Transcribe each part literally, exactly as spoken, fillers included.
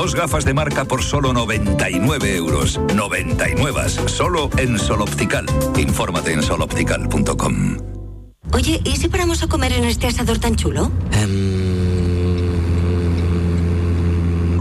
Dos gafas de marca por solo noventa y nueve euros. noventa y nueve, solo en Sol Optical. Infórmate en sol optical punto com. Oye, ¿y si paramos a comer en este asador tan chulo? Um...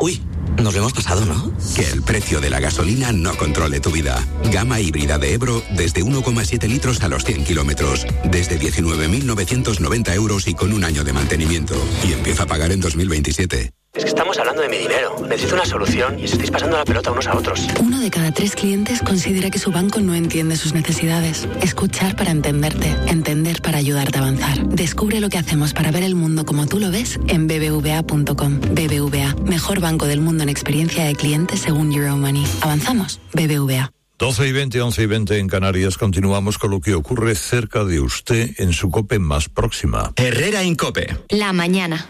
Uy, nos lo hemos pasado, ¿no? Que el precio de la gasolina no controle tu vida. Gama híbrida de Ebro desde uno coma siete litros a los cien kilómetros. Desde diecinueve mil novecientos noventa euros y con un año de mantenimiento. Y empieza a pagar en dos mil veintisiete. Es que estamos hablando de mi dinero. Necesito una solución y os estáis pasando la pelota unos a otros. Uno de cada tres clientes considera que su banco no entiende sus necesidades. Escuchar para entenderte. Entender para ayudarte a avanzar. Descubre lo que hacemos para ver el mundo como tú lo ves en b b v a punto com. B B V A, mejor banco del mundo en experiencia de cliente según Euromoney. ¿Avanzamos? B B V A. doce y veinte, once y veinte en Canarias. Continuamos con lo que ocurre cerca de usted en su COPE más próxima. Herrera en COPE. La mañana.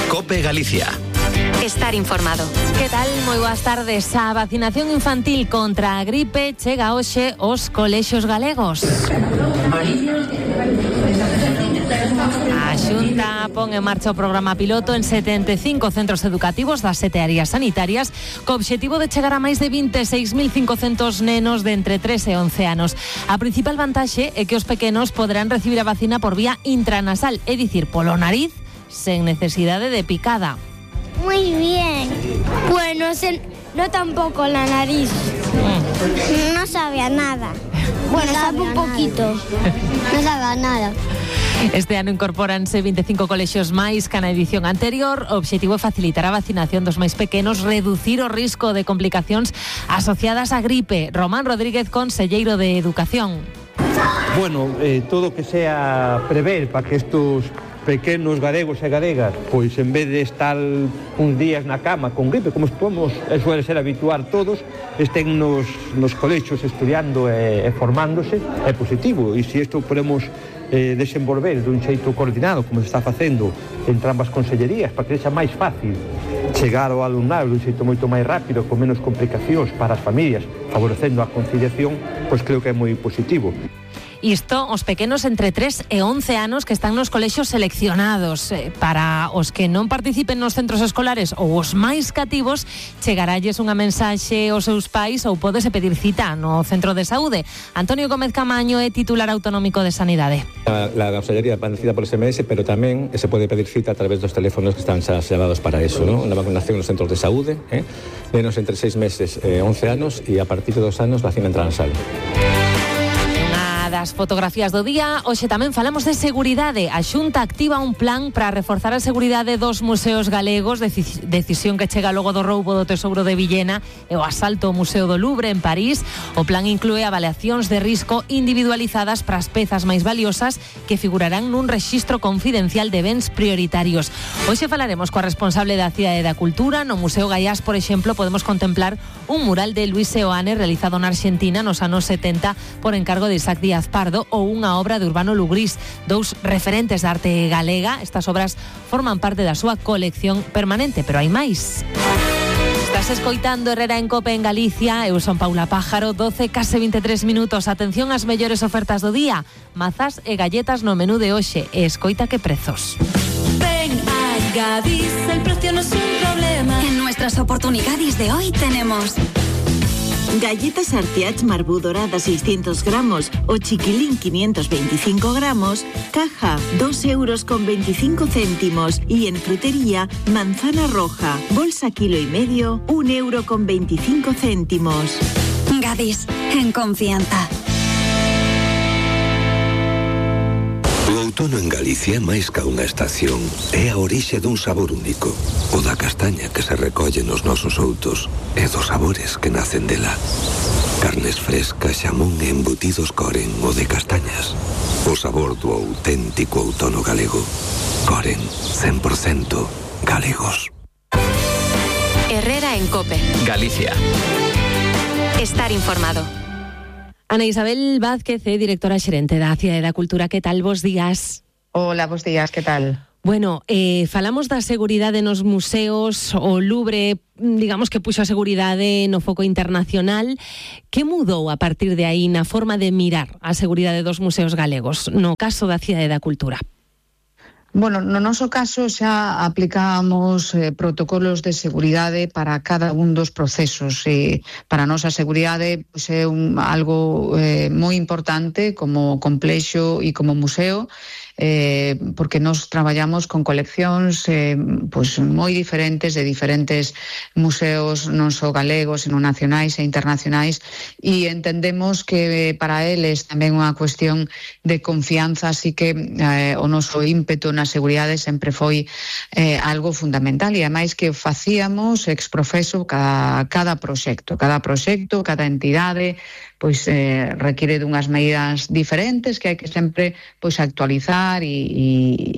COPE Galicia. Estar informado. Que tal? Moi boas tardes. A vacinación infantil contra a gripe chega hoxe aos colexios galegos. A Xunta pon en marcha o programa piloto en setenta e cinco centros educativos das sete áreas sanitarias co obxectivo de chegar a máis de vinte e seis mil cincocentos nenos de entre tres e once anos. A principal vantaxe é que os pequenos poderán recibir a vacina por vía intranasal, é dicir, polo nariz, sen necesidade de picada. Muy bien. Bueno, se, no tampoco la nariz. Mm. No sabe a nada. Bueno, no sabe un poquito. No sabe a nada. Este ano incorpóranse vinte e cinco colexios máis que na edición anterior. O obxectivo é facilitar a vacinación dos máis pequenos, reducir o risco de complicacións asociadas á gripe. Román Rodríguez, conselleiro de Educación. Bueno, eh, todo que sea prever para que estos pequenos galegos e galegas, pois en vez de estar uns días na cama con gripe, como podemos, e suele ser habituar todos, estén nos, nos colexios estudiando e, e formándose, é positivo. E se isto podemos eh, desenvolver dun xeito coordinado, como se está facendo entre ambas consellerías, para que sexa máis fácil chegar ao alumnado dun xeito moito máis rápido, con menos complicacións para as familias, favorecendo a conciliación, pois creo que é moi positivo. Isto, os pequenos entre tres e once anos que están nos colexios seleccionados. Para os que non participen nos centros escolares ou os máis cativos, chegaralles unha mensaxe aos seus pais ou pódese pedir cita no centro de saúde. Antonio Gómez Camaño é titular autonómico de Sanidade. La, la consellería va por S M S, pero tamén se pode pedir cita a través dos teléfonos que están xa xerados para eso, ¿no? Na vacunación nos centros de saúde, ¿eh? Nenos entre seis meses e once anos e a partir de dos anos vacina transversal. Das fotografías do día, hoxe tamén falamos de seguridade. A Xunta activa un plan para reforzar a seguridade dos museos galegos, decisión que chega logo do roubo do Tesouro de Villena e o asalto ao Museo do Louvre en París. O plan inclúe avaliacións de risco individualizadas para as pezas máis valiosas que figurarán nun rexistro confidencial de bens prioritarios. Hoxe falaremos coa responsable da Cidade da Cultura. No Museo Gaiás, por exemplo, podemos contemplar un mural de Luis Seoane realizado na Argentina nos anos setenta por encargo de Isaac Díaz Pardo ou unha obra de Urbano Lugrís, dous referentes da arte galega. Estas obras forman parte da súa colección permanente, pero hai máis. Estás escoitando Herrera en COPE en Galicia. Eu son Paula Pájaro, doce case vinte e tres minutos. Atención ás mellores ofertas do día. Mazás e galletas no menú de hoxe. E escoita que prezos. Ven a Gadis, el precio no es un problema. En nuestras oportunidades de hoy tenemos galletas Artiach Marbú dorada seiscientos gramos o chiquilín quinientos veinticinco gramos, caja dos euros con veinticinco céntimos, y en frutería manzana roja, bolsa kilo y medio, un euro con veinticinco céntimos. Gadis, en confianza. O outono en Galicia, máis ca unha estación, é a orixe dun sabor único. O da castaña que se recolle nos nosos outos e dos sabores que nacen dela. Carnes frescas, xamón e embutidos Coren, o de castañas. O sabor do auténtico outono galego. Coren, cen por cento galegos. Herrera en COPE. Galicia. Estar informado. Ana Isabel Vázquez, directora xerente da Cidade da Cultura. Que tal? Bos días. Hola, bos días, que tal? Bueno, eh, falamos da seguridade nos museos, o Louvre, digamos que puxo a seguridade no foco internacional. Que mudou a partir de aí na forma de mirar a seguridade dos museos galegos, no caso da Cidade da Cultura? Bueno, no noso caso xa aplicamos eh, protocolos de seguridade para cada un dos procesos. E para a nosa seguridade pues, é un, algo eh, moi importante como complexo e como museo, eh, porque nos traballamos con coleccións eh, pues, moi diferentes de diferentes museos, non só galegos, sino nacionais e internacionais, e entendemos que para eles tamén unha cuestión de confianza, así que eh, o noso ímpeto na seguridade sempre foi eh, algo fundamental, e ademais que facíamos ex profeso cada, cada proxecto, cada proxecto, cada entidade, pois eh, requiere dunhas medidas diferentes que hai que sempre pois actualizar e, e,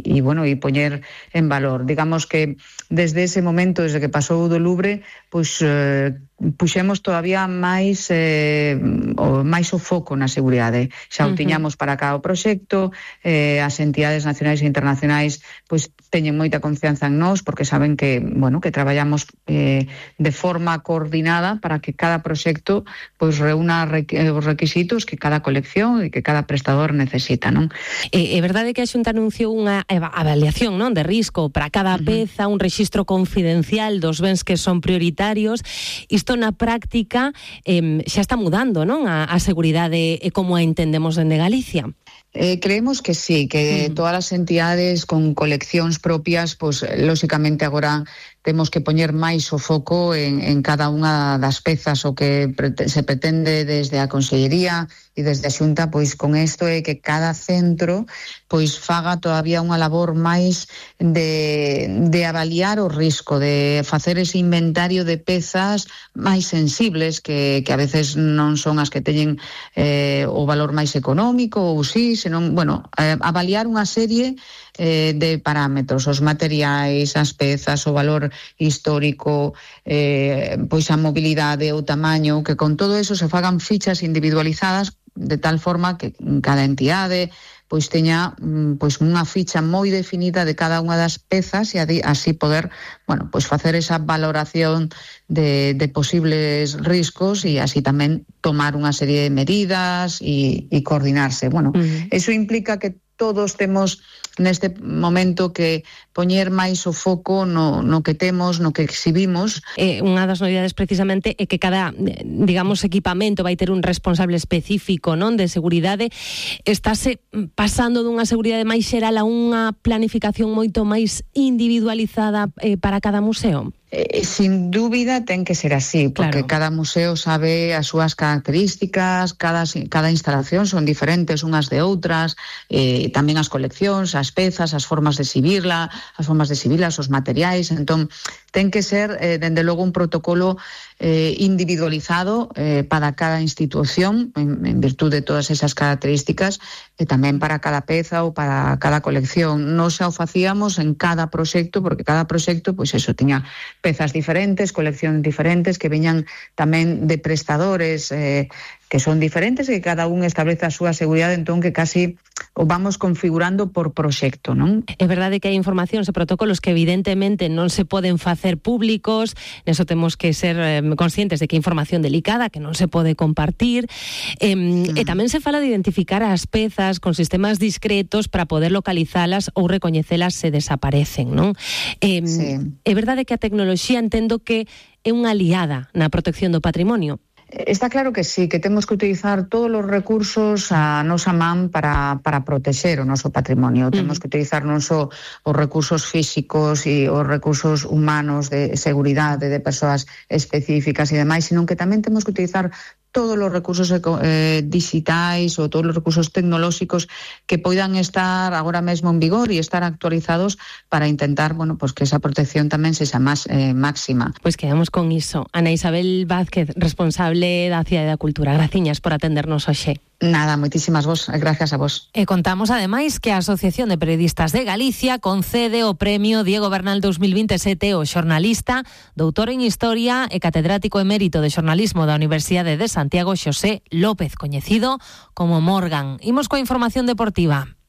e bueno, e poñer en valor. Digamos que desde ese momento, desde que pasou do Louvre, pois eh, puxemos todavía máis eh, o máis o foco na seguridade. Xa o tiñamos para cada proxecto, eh, as entidades nacionais e internacionais pois teñen moita confianza en nós porque saben que, bueno, que traballamos eh, de forma coordinada para que cada proxecto pois reúna os requisitos que cada colección e que cada prestador necesita, non? É, é verdade que a Xunta anunciou unha avaliación, non, de risco para cada uh-huh. peza, un rexistro confidencial dos bens que son prioritarios. Isto na práctica eh, xa está mudando, non, a, a seguridade e como a entendemos dende Galicia. Eh, creemos que sí, que mm. todas as entidades con coleccións propias, pues, lóxicamente agora temos que poñer máis o foco en, en cada unha das pezas. O que pre- se pretende desde a Consellería e desde a Xunta, pois con isto é que cada centro pois faga todavía unha labor máis de, de avaliar o risco, de facer ese inventario de pezas máis sensibles que, que a veces non son as que teñen eh, o valor máis económico ou sí, senón, bueno, eh, avaliar unha serie eh, de parámetros, os materiais, as pezas, o valor histórico, eh, pois a mobilidade, o tamaño, que con todo eso se fagan fichas individualizadas de tal forma que cada entidade pois teña pois unha ficha moi definida de cada unha das pezas e así poder, bueno, pois facer esa valoración de, de posibles riscos e así tamén tomar unha serie de medidas e, e coordinarse. Bueno, uh-huh. eso implica que todos temos neste momento que poñer máis o foco no, no que temos, no que exhibimos. Eh, unha das novidades precisamente é que cada, digamos, equipamento vai ter un responsable específico, non, de seguridade. Estáse pasando dunha seguridade máis xeral a unha planificación moito máis individualizada eh, para cada museo? Eh, sin dúbida ten que ser así, porque claro. cada museo sabe as súas características, cada, cada instalación son diferentes unhas de outras, eh, tamén as coleccións, as pezas, as formas de exhibirla, as formas de exhibirlas, os materiais. Entón, ten que ser, eh, dende logo, un protocolo eh, individualizado eh, para cada institución, en, en virtud de todas esas características, e tamén para cada peza ou para cada colección. Non xa o facíamos en cada proxecto, porque cada proxecto, pois eso, tiña pezas diferentes, coleccións diferentes, que veñan tamén de prestadores eh, que son diferentes e que cada un establece a súa seguridade, entón que casi o vamos configurando por proxecto, non? É verdade que hai informacións e protocolos que evidentemente non se poden facer públicos, neso temos que ser eh, conscientes de que é información delicada, que non se pode compartir, eh, mm. e tamén se fala de identificar as pezas con sistemas discretos para poder localizalas ou recoñecelas se desaparecen, non? Eh, sí. É verdade que a tecnoloxía entendo que é unha aliada na protección do patrimonio. Está claro que sí, que temos que utilizar todos os recursos a nosa man para, para protexer o noso patrimonio. Uh-huh. Temos que utilizar non só os recursos físicos e os recursos humanos de seguridade de persoas específicas e demais, sino que tamén temos que utilizar todos os recursos eh, digitais ou todos os recursos tecnolóxicos que poidan estar agora mesmo en vigor e estar actualizados para intentar, bueno, pues que esa protección tamén sexa máis eh, máxima. Pois pues quedamos con iso. Ana Isabel Vázquez, responsable da Cidade da Cultura. Graciñas por atendernos hoxe. Nada, moitísimas vos, gracias a vos. E contamos ademais que a Asociación de Periodistas de Galicia concede o premio Diego Bernal dos mil veintisiete ao xornalista, doutor en Historia e catedrático emérito de xornalismo da Universidade de Santiago, Xosé López, coñecido como Morgan. Imos coa información deportiva.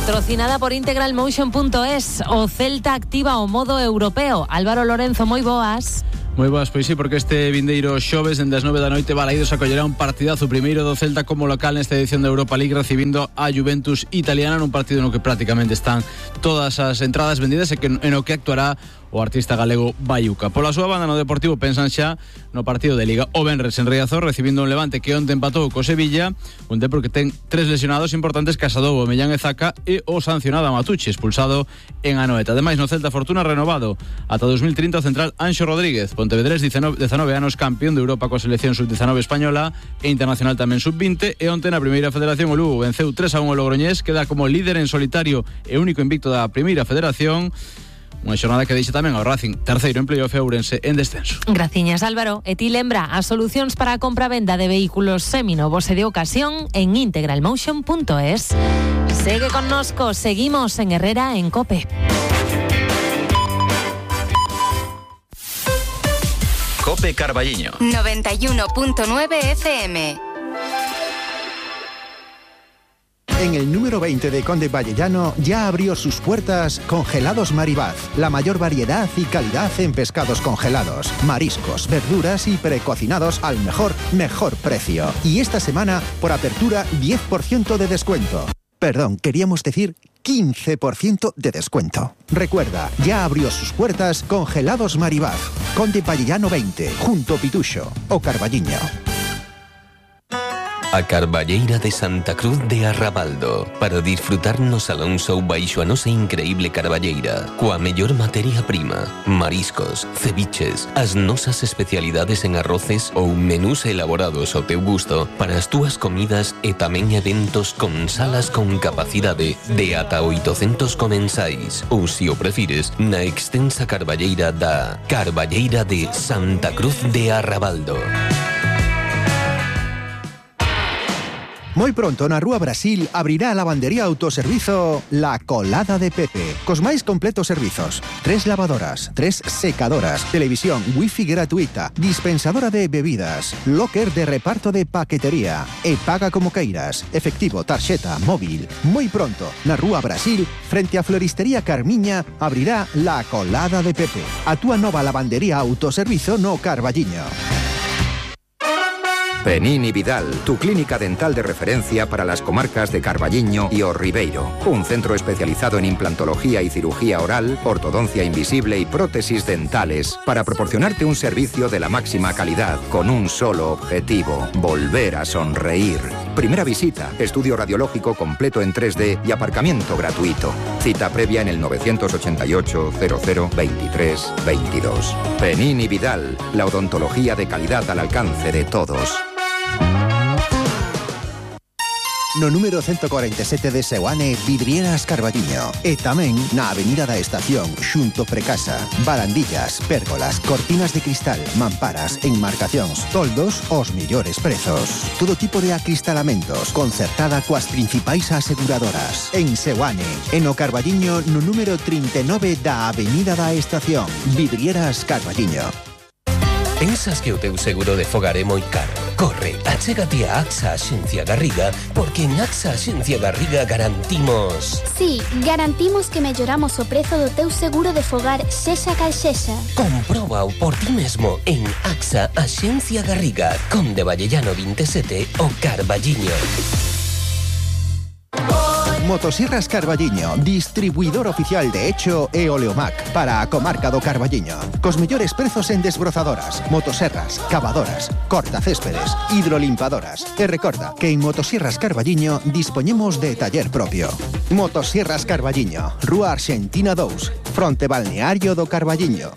Patrocinada por integral motion punto es. O Celta activa o modo europeo. Álvaro Lorenzo, moi boas. Moi boas, pois sí, porque este vindeiro xoves dende as nove da noite Balaídos acollerá un partidazo primeiro do Celta como local nesta edición da Europa League, recibindo a Juventus italiana nun partido no que prácticamente están todas as entradas vendidas e que en o que actuará o artista galego Bayuca. Pola súa banda no Deportivo pensan xa no partido de Liga o venres en Riazor, recibindo un Levante que onte empatou co Sevilla, un Depor que ten tres lesionados importantes: Casadobo, Mellán e Zaca, e o sancionado Matucci, expulsado en Anoeta. Ademais, no Celta Fortuna renovado ata dos mil trinta o central Anxo Rodríguez, Pontevedrés, dezanove anos, campeón de Europa coa selección sub dezanove española e internacional tamén sub vinte, e onte na Primeira Federación o Lugo venceu tres a un o Logroñés, queda como líder en solitario e único invicto da Primeira Federación. Unha xornada que deixa tamén ao Racing terceiro en playoff e Ourense en descenso. Graciñas, Álvaro. E ti lembra as solucións para a compra-venda de vehículos seminovos e de ocasión en integral motion punto es. Segue connosco, seguimos en Herrera en COPE. COPE Carballiño noventa y uno punto nueve F M. En el número veinte de Conde Vallellano ya abrió sus puertas Congelados Maribaz, la mayor variedad y calidad en pescados congelados, mariscos, verduras y precocinados al mejor, mejor precio. Y esta semana, por apertura, diez por ciento de descuento. Perdón, queríamos decir quince por ciento de descuento. Recuerda, ya abrió sus puertas Congelados Maribaz, Conde Vallellano veinte, junto Pituxo o Carballiño. A Carballeira de Santa Cruz de Arrabaldo, para disfrutar no Salón Show baixo a nosa increíble carballeira, coa mellor materia prima, mariscos, ceviches, as nosas especialidades en arroces ou menús elaborados ao teu gusto para as túas comidas e tamén eventos con salas con capacidade de ata oitocentos comensais, ou se o prefires, na extensa carballeira da Carballeira de Santa Cruz de Arrabaldo. Muy pronto na Rúa Brasil abrirá a lavandería autoservizo La Colada de Pepe, cos máis completos servizos. Tres lavadoras, tres secadoras, televisión, wifi gratuita, dispensadora de bebidas, locker de reparto de paquetería e paga como queiras, efectivo, tarxeta, móvil. Muy pronto na Rúa Brasil, frente a Floristería Carmiña, abrirá La Colada de Pepe, a túa nova lavandería autoservizo no Carballiño. Penini Vidal, tu clínica dental de referencia para las comarcas de Carballiño y O Ribeiro. Un centro especializado en implantología y cirugía oral, ortodoncia invisible y prótesis dentales para proporcionarte un servicio de la máxima calidad con un solo objetivo: volver a sonreír. Primera visita, estudio radiológico completo en tres D y aparcamiento gratuito. Cita previa en el novecientos ochenta y ocho, cero cero, veintitrés, veintidós. Penini Vidal, la odontología de calidad al alcance de todos. No número ciento cuarenta y siete de Seoane, Vidrieras Carballiño. E tamén na Avenida da Estación, xunto Precasa. Barandillas, pérgolas, cortinas de cristal, mamparas, enmarcacións, toldos, os millores prezos. Todo tipo de acristalamentos, concertada coas principais aseguradoras. En Seoane, en o Carballiño, no número trinta e nove da Avenida da Estación. Vidrieras Carballiño. Pensas que o teu seguro de fogar é moi caro? Corre, achégate a AXA Axencia Garriga, porque en AXA Axencia Garriga garantimos... Sí, garantimos que melloramos o prezo do teu seguro de fogar sexa cal sexa. Compróbao por ti mesmo en AXA Axencia Garriga, Conde Vallellano veintisiete o Carballiño. Motosierras Carballiño, distribuidor oficial de Echo e Oleomac para a comarca do Carballiño. Cos mellores prezos en desbrozadoras, motoserras, cavadoras, cortacéspedes, hidrolimpadoras. E recorda que en Motosierras Carballiño dispoñemos de taller propio. Motosierras Carballiño, Rúa Arxentina dous, fronte balneario do Carballiño.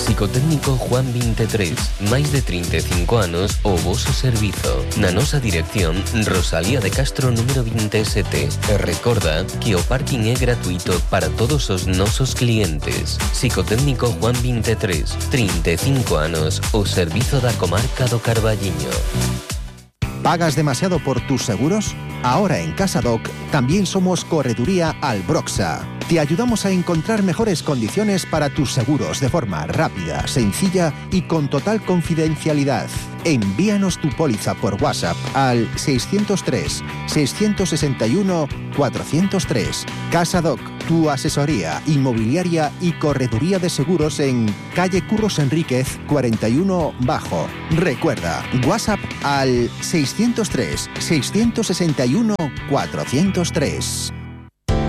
Psicotécnico Juan veintitrés, máis de trinta e cinco anos o voso servizo. Na nosa dirección, Rosalía de Castro número veintisiete. E recorda que o parking é gratuito para todos os nosos clientes. Psicotécnico Juan veintitrés, trinta e cinco anos o servizo da comarca do Carballiño. ¿Pagas demasiado por tus seguros? Ahora en CasaDoc también somos Correduría Albroxa. Te ayudamos a encontrar mejores condiciones para tus seguros de forma rápida, sencilla y con total confidencialidad. Envíanos tu póliza por WhatsApp al seiscientos tres, seiscientos sesenta y uno, cuatrocientos tres. CasaDoc, tu asesoría inmobiliaria y correduría de seguros en calle Curros Enríquez cuarenta y uno Bajo. Recuerda, WhatsApp al seiscientos tres, seiscientos sesenta y uno, cuatrocientos tres.